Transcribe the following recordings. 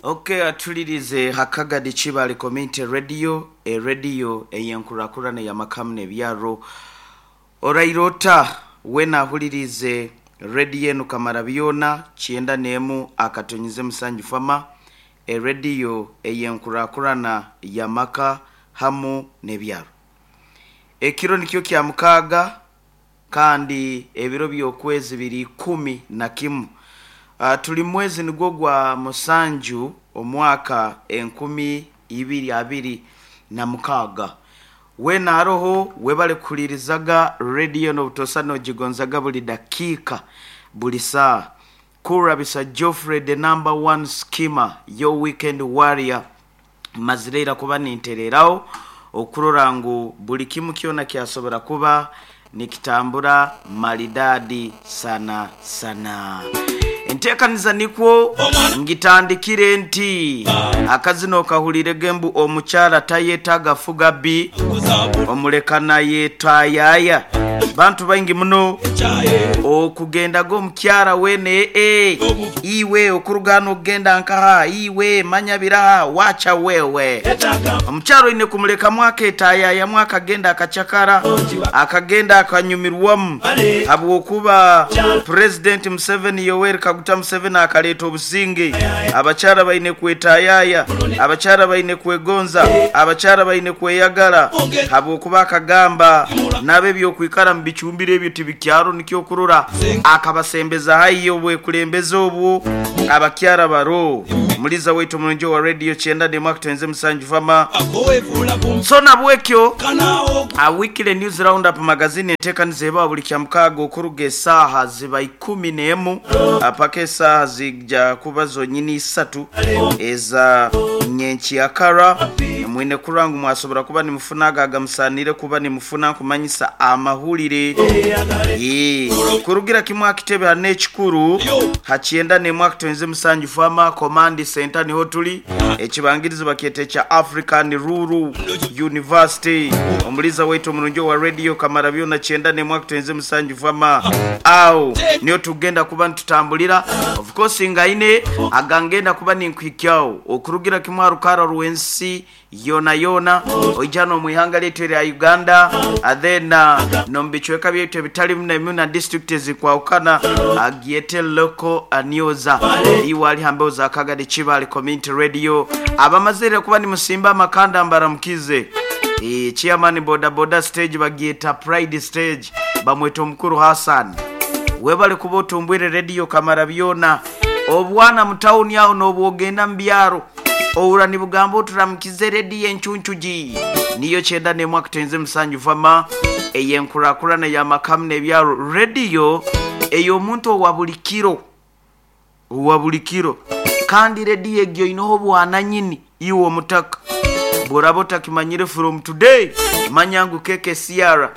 Ok atulirize ha Kagadi Kibaale Community Radio, erediyo ey'enkurakurana ey'amaka hamu n'ebyaro. Oraire ota weena ahuliriize rediyo enu Kamarabyona 91 akatonyeze musanju fama, erediyo ey'enkurakurana y'amaka hamu n'ebyaro. Ekiro nikyo kya mukaaga kandi ebiro by'okwezi biri 11. Tuli mwezi nigwo gwa musanju omwaka 2026. Weena aroho webale kuhulirizaga rediyo enu obutosa nogigonzaga buli dakiika, buli saaha. Kurabisa Geoffrey the number one skimmer, your weekend warrior. Mazire ira kuba nintereraho okurora ngu buli kimu kyona kyasobora kuba nikitambura maridadi sana sana. Entekaniza nikwo ngitandikire nti akazina okahulirege mbu omukyala tayetaga fuga bbi omuleka nayetayaya. Bantu baingi muno okugendaga omukyara wene ee iwe okuruga hano okugenda nkaha iwe manya biraha wacha wewe. Omukyara oine kumulekamu aketayayamu akagenda akacakara akagenda akanyumirwamu habwokuba Pulezidenti Museveni Yoweri Kaguta Museveni akaleeta obusinge. Abakyara baine kwetayaya, abakyara baine kwegonza, abakyara baine kweyagala habwokuba akagamba nabo eby'okwikara mu bicumbiro ebyo tibikyaro nikyo okurora akabasembeza haihi obwekulembeze obwo abakyara baro. Muliza waitu omurungi owa Radio 91 akutwenze musanju fama. So nabwekyo Weekly News Roundup Magazine entekaniza ebaho buli kyamukaaga okuruga esaaha ziba 11 paka esaaha zija kuba zonyini isatu eza nyenkyakara. Mwine kurora ngu mwasobora kuba nimufuna ago agamusaaniire kuba nimufuna nkumanyisa amahulire. Kurugira kimwe aha kitebe hanu ekikuru ha 91 akutwenze musanju Farmer Command Centre niho tuli. Ekibangirizi bakyeta ekya African Rural University. Omuliiza waitu omurungi owa Radio Kamarabyona 91 akutwenze musanju Farmer. Agho niho tugenda kuba nitutambulira. Of course ngaine agangenda kuba ninkuhikyagho okurugira kimwe aha rukaara rw'ensi yoonayoona oija n'omu ihanga lyaitu erya Uganda then n'omu bicweka byaitu ebitali bimu na bimu na disiturikiti ezirikwahukana gyete Local News. Iwe ali ha mbeho za Kagadi Kibaale Community Radio abamazeire kuba nimusimba amakanda mbaramukize. Chairman boda boda stage bagyeta Pride stage bamweta omukuru Hassan. Webale kuba otumbwire Radio Kamarabyona. Obwana mu tawuni agho n'obwogenda mu byaro. Owura nibugamba oti Ramukize rediyo encuncugi niyo 91 akuteenze musanju vama ey'enkurakurana y'amaka hamu n'ebyaro, rediyo ey'omuntu owa buli kiro, owa buli kiro. Kandi rediyo egyo oineho obwananyini iwe omutaka. Bw'oraba otakimanyire from today, manya ngu KKCR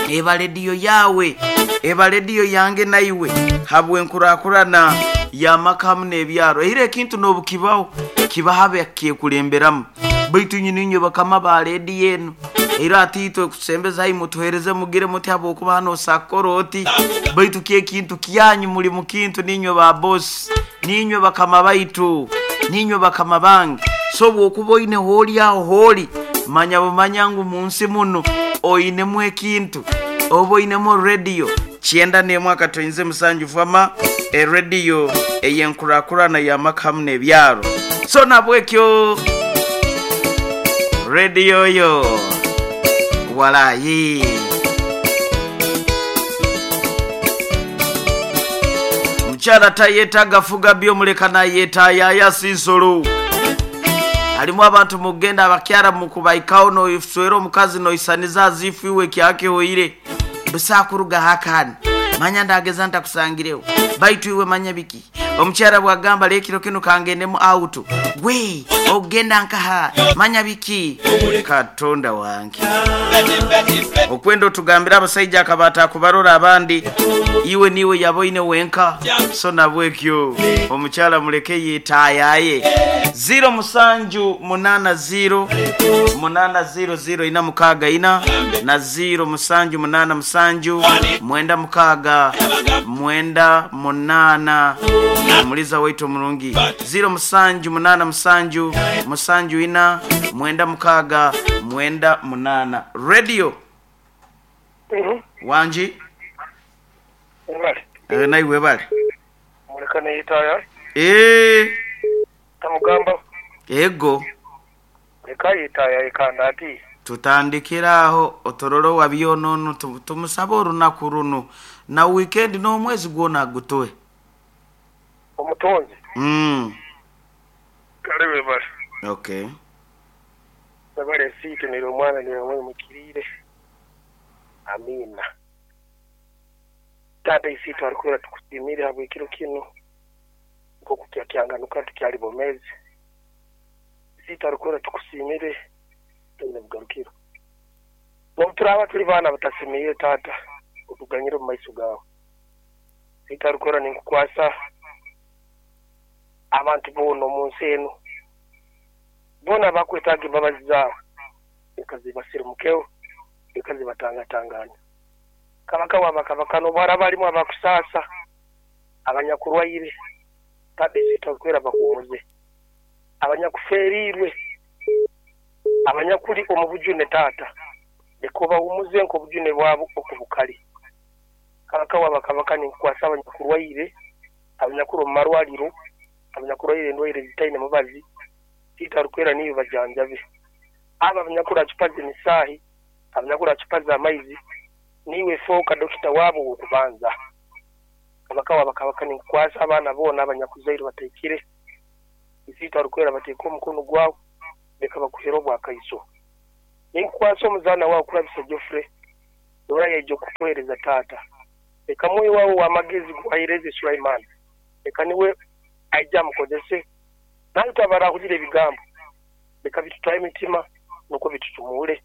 eba rediyo yaawe, eba rediyo yange naiwe habw'enkurakurana y'amaka hamu n'ebyaro. Eira ekintu n'obukibaho, kibaho abakyekulemberaamu. Baitu inywe niinywe bakama ba rediyo enu. Eira hati itwe kusembeza haihi mutuheereze mugire muti habwokuba hanu osa kukora oti. Baitu ky'ekintu kyanyu muli mu kintu niinywe ba bosi, niinywe bakama baitu, niinywe bakama bange. So obwokuba oine hooli aho hooli, manya bumanya ngu mu nsi munu oinemu ekintu, oba oinemu rediyo. 91 akatoinze musanju fama erediyo ey'enkurakurana y'amaka hamu n'ebyaro. So nabwekyo rediyo yo walayi. Omukyala tayetaaga fuga bbi omuleka nayetayaya si nsolo. Halimu abantu mukugenda abakyara mukubaikaho noiswera omukazi noisaniza azifu iwe kyakihoire. Busa kuruga haka hanu, manya ndageza ntakusangireho. Baitu iwe manya biki? Omukyara bwagamba lekiro kinu kangendemu auto. Gwe ogenda nkaha? Manya biki? Katonda wange. Okwenda otugambire abasaija akaba atakubarora abandi, iwe niiwe yaboine wenka. So nabwekyo omukyala muleke yetayaye. 0 musanju munana 0 munana 0 0 ina mukaaga ina na 0 musanju munana musanju mwenda mukaaga mwenda munana omuliza waitu omurungi 0 musanju munana musanju musanju ina mwenda mukaaga mwenda munana radio wangi. Webale. Naiwe webale. Muleka neyitaya. Tamugamba. Ego. Leka yitaya ikanda ati. Tutandikira aho otororo wa byonono tumusaba orunaku runo na weekend n'omwezi gwona gutoe. Omutonzi. Kale webale. Okay. Webale siite nero omwana nero omwe mukirire. Amina. Tata isitu alikwera tukusimire habwekiro kino nkoku kyakyanganuka tukyali bomezi. Isitu alikwera tukusimire tuine bugarukiro. N'obuturaba tuli baana batasimire tata otuganyire omu maiso gawe. Isitu alikwera ninkukwasa abantu boona omu nsi eno boona bakwetaaga embabazi zaawe leka zibasirimukeho leka zibatangatanganya. Kabaka wabakabaka n'obwara balimu abakusaasa abanyakurwaire tata isitu alikwera bakuhumuze abanyakuferiirwe abanyakuli omu bujune tata leka obahumuze nk'obujune bwabo okubukali. Kabaka wabakabaka ninkukwasa abanyakurwaire abanyakuri omu marwariro abanyakurwaire endwaire zitaine mubazi tita alikwera niyo bajanjabe aba abanyakuri chupa z'emisaahi abanyakuri chupa z'amaizi niwe foka dokita wabo wokubanza. Kabaka wabakabaka ninkukwasa abaana boona abanyakuzaire bataikire isitu alikwera bateeka omukono gwawe leka bakuhere obwakaiso. Ninkukwasa omuzaana wawe kurabisa Geoffrey dora yaija okukuhereza tata leka mwoyo wawe w'amagezi guhaireze Sulaiman leka niwe aija amukozese naye tabarahulira ebigambo leka bitutwaye emitima nukwo bitutumule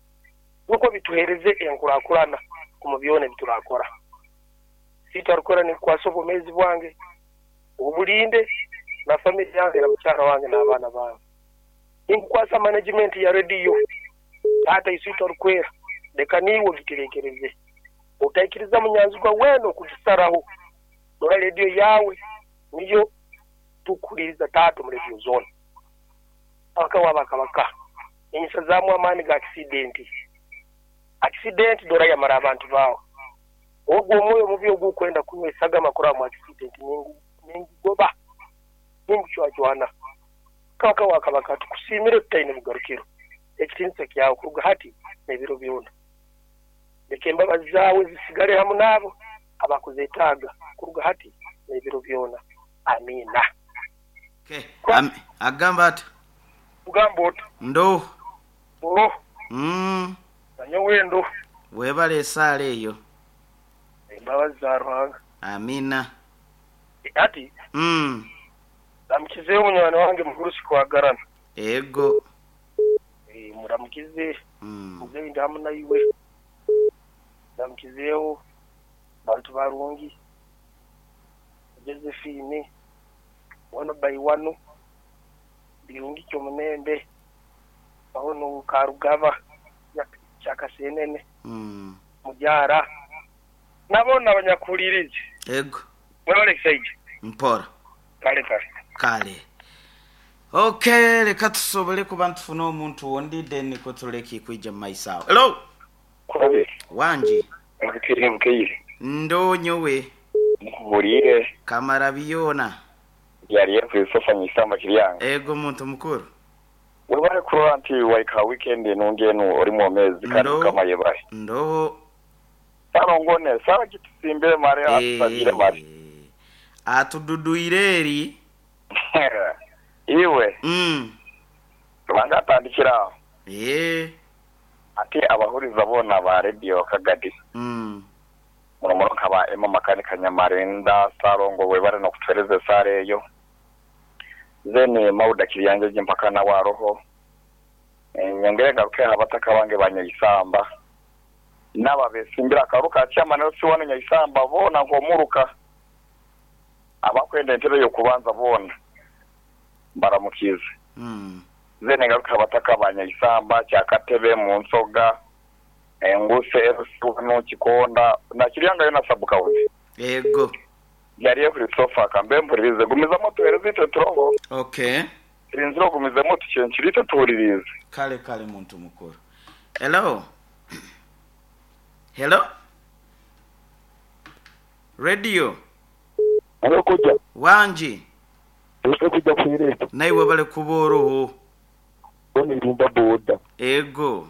nukwo bituhereze enkurakurana omu byona ebiturakora. Situ alikora ninkukwasa obwomeezi bwange obulinde na family yange na mukyala wange n'abaana bange. Ninkukwasa management ya radio tata isitu alikwera leka niwe ogiterekereze otaikiriza munyanzigwa wena okugisaraho dora radio yawe niyo tukuliriza tata mu radio zone. Abaka wabakabaka enyisazaamu amaani ga accident dora yamara abantu bawe ogwo omwoyo mubi ogukwenda kunywa esagama kuramu accident ningugoba ningucwacwana. Kabaka wakabaka tukusimire tutaine bugarukiro ekitinisa kyawe kuruga hati n'ebiro byona. Leka embabazi zaawe zisigale hamu n'abo abakuzeetaaga kuruga hati n'ebiro byona. Amina. Okay. Agamba ati ugamba oti ndo ndo nanyowe ndo webale esaala eyo embabazi za Ruhanga. Amina. Ati ndamukizeyo munywani wange mugurusi kwagarana. Ego. Muramukize muzeyi hamu naiwe ndamukizeyo bantu barungi Josephine wano by wano birungi kyomunembe aho no Karugaba kyakasenene mujara nabona abanyakulirize. Ego. Mwebale kisaija. Mpora. Kale kale. Kale. Okay, leka tusobole kuba ntufuna omuntu wondi then kotuleki kuija mu maiso awo. Hello. Kurabe. Wangi. Mukire mukire. Ndo nyowe. Mukubulire. Kamara biyona. Yari Christopher Nyisamba kiryanga. Ego muntu mukuru. Webale kurora nti waika weekend nungenu ori mu mezi kandi kama yebale. Ndo. Sarongone sara kitusimbe mare atusabire mare. Atududuire eri. Iwe. Rwanda atandikira. Ati abahuriza bona ba radio Kagadi. Munomoro kaba Emma Makanika Nyamarinda Sarongo webale no kutereze sare eyo. Zene mauda kiryange mpaka na waroho. Nyongere garuke abataka bange banyayisamba. Naba besimbira karuka chama no siwana nyayisamba bona nkomuruka. Abakwenda entebe yo kubanza bona. Baramukize. Then ngaruka abataka ba Nyaisamba, Kyakatebe, Munsoga, Enguse, Erusiwanu, Kikonda na Kiryanga yona sub-county. Ego. Yali Christopher kambe mpulirize. Gumizamu otuhereze itwe turoho. Okay. Turinzire ogumizemu otucencure itwe tuhuliriize. Kale kale muntu mukuru. Hello. Hello. Radio. Hello koja. Wangi. Ese kuja kuhereza. Naiwe bale kuba oroho. Ono irumba boda. Ego.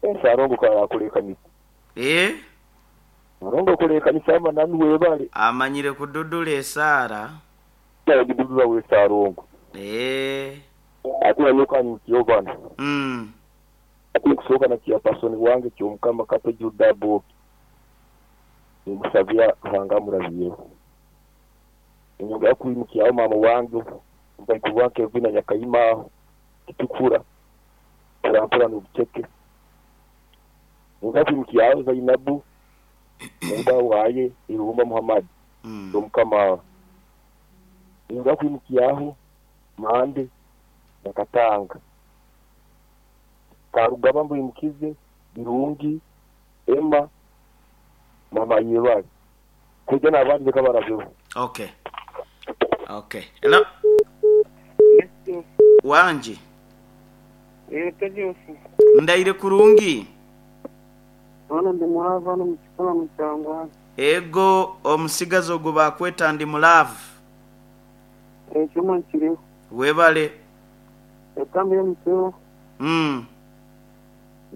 Ese arongo kaya kulekanisa. Eh? Arongo kulekanisa ama nani webale. Amanyire kududula esaara. Ya gidudula we sarongo. Eh. Ate yoka nyukiyobana. Ate kusoka na kia person wange kyomukama kato Juda Boki. Ngusabia Ruhanga murabiyeho. Enyonga yakwimukiyaho mama wange mbaikuwa Kevin Nyakayima kitukura. Turampura n'ubuceke. Enyonga yakwimukiyaho Zainabu Muba waye Irumba Muhammad. Omukama. Enyonga yakwimukiyaho Mande Nakatanga. Karugaba mbuyimukize Birungi Emma Mama Yebali. Kujya n'abandi reka barabeho. Okay. Okay. Hello. Wangi. Ndaire kurungi. Ono ndi mulava ono mukikola mukyangwa. Ego omusigazi ogwo bakweta ndi mulavu. Ekyuma nkiriho. Webale. Ekambi y'omukiro.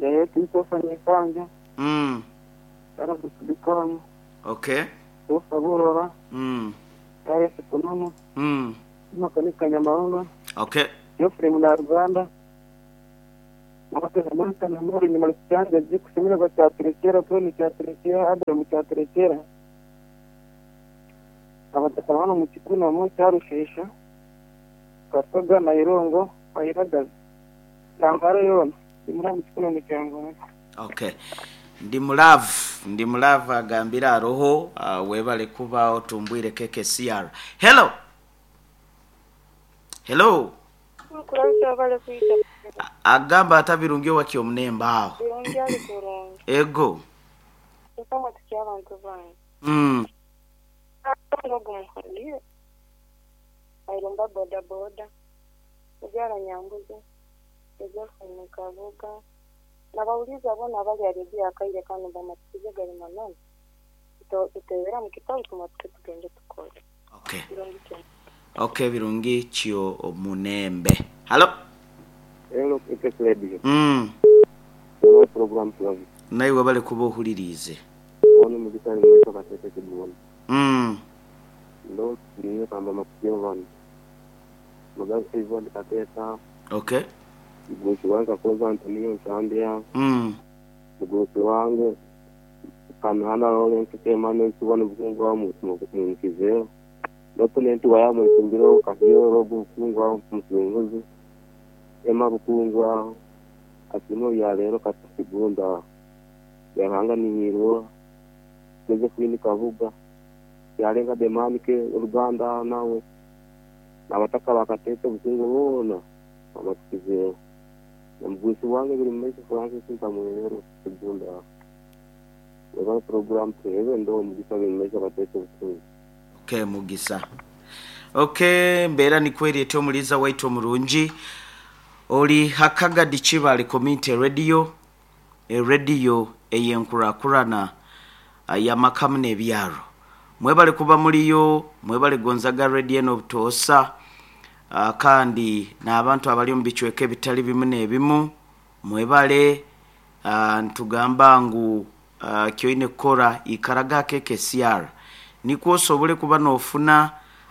Yaye Christopher Nyekanja. Ara kusubikana. Okay. Osaburora. Yaye Sikunono. Makanika Nyamahanga. Okay. Geoffrey Munaruganda. Mabate Samantha na Mori ni Malikanja jikusimira kwa kyaturekera Tony kyaturekera Adam kyaturekera. Abatakana mu kikuna mu cyarushesha. Kasoga na Irongo ayiragaza. Tangaro yona ndimura mu kikuna mu cyango. Okay. Ndi mulavu agambira aroho webale kuba otumbwire KKCR. Hello. Hello. Agamba atabirungi wakyo mnemba aho. Birungi ali kurungi. Ego. Kusoma tukia abantu bange. Ngo Airumba boda boda. Ujara nyambuzi. Ejofu nkavuga. Nabauliza bona abali aribia akaire kano bamatikize gari manani. Tutewera mu kitabu tumatike tugende tukore. Okay. Okay, birungi chio munembe. Hello. Hello, KK Radio. Hello program tuwavi. Naiwe bale kuba ohulirize. Ono mugitani mweto katete kibona. Ndo niyo kamba makuyo vani. Mugabe Ivon kateta. Okay. Mgusi wange akoza Antonio Nsambia. Mgusi wange Kanana Lawrence Emmanuel Sibona bukungu wa mukizeyo. Document wa yamu ikumbiro kahiyo robu bukungu wa musunguzi. Ema bukungu wa asimo ya lero katigunda. Yahanga ni hiro. Josephine Kavuga. Yalenga Demanike Uganda nawe. Abataka bakatete bukungu bona amatikizeyo. Mgusi wange biri mmeshi Francis Ntamwero kugunda. Weba program tuwe ndo mugisa biri mmeshi bakatete bukungu. Okay mugisa. Okay mbera ni kweri eto muliza waito murungi. Oli hakaga dichibale community radio. E radio eyenkurakurana ya makamu n'ebyaro. Mwebale kuba muliyo, mwebale gonzaga radio n'obutosa. Kandi n'abantu abali mu bicweka ebitali bimu n'ebimu mwebale ntugamba ngu kyoine kukora ikaraga KKCR nikwo osobole kuba n'ofuna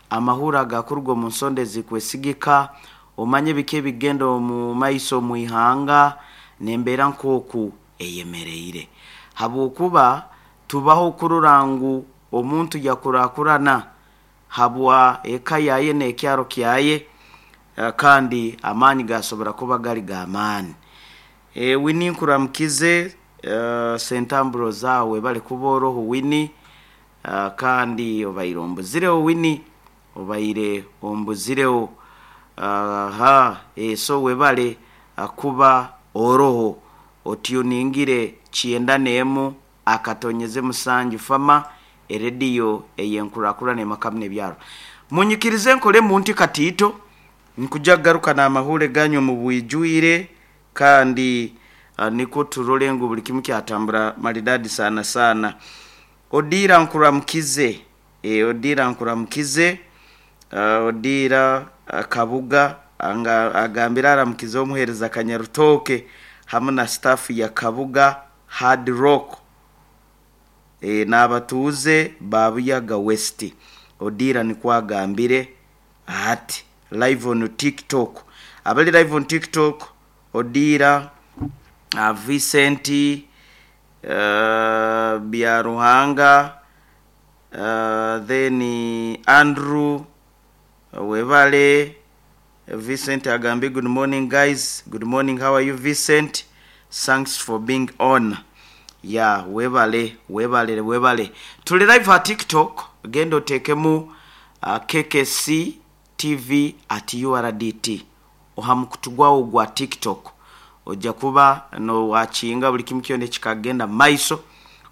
amahura agakurwa mu nsonde zikwesigika omanye biki ebigenda mu maiso mu ihanga n'embeera nk'oku eyemereire habwokuba tubaho kurora ngu omuntu yakurakurana habwa eka yaye n'ekyaro kyaye kandi amaani gasobora kuba gali g'amaani. Wini nkuramukize sentamburo zawe bali kuboroho Wini kandi obaire ombuzireho Wini obaire ombuzireho Aha, so webale kuba oroho otuningire 91.7 fama erediyo eyenkurakurana emakamu n'ebyaro. Munyikirize nkole muntu katiito nkuja kugaruka n'amahure ganyu mu bwijwire, kandi nikwo turole ngu buli kimu kyatambura maridadi sana sana. Odira nkuramukize, odira nkuramukize, odira Kabuga anga agambira aramukize omuhereza Kanyarutoke hamwe na staff ya Kabuga Hard Rock, n'abatuuze ba Buyaga West. Odira nikwo agambire ati live on TikTok. Abali live on TikTok, Odira, Vincent, Byaruhanga, then Andrew webale. Vincent agambi good morning guys, good morning, how are you Vincent, thanks for being on. Ya webale webale webale. Tuli live ha TikTok, genda otekemu KKC TV at URDT oha mukutu gwawo gwa TikTok, ojja kuba no wakinga buli kimu kyona ekikagenda maiso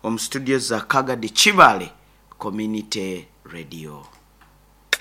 omu studio za Kagadi Kibale Community Radio.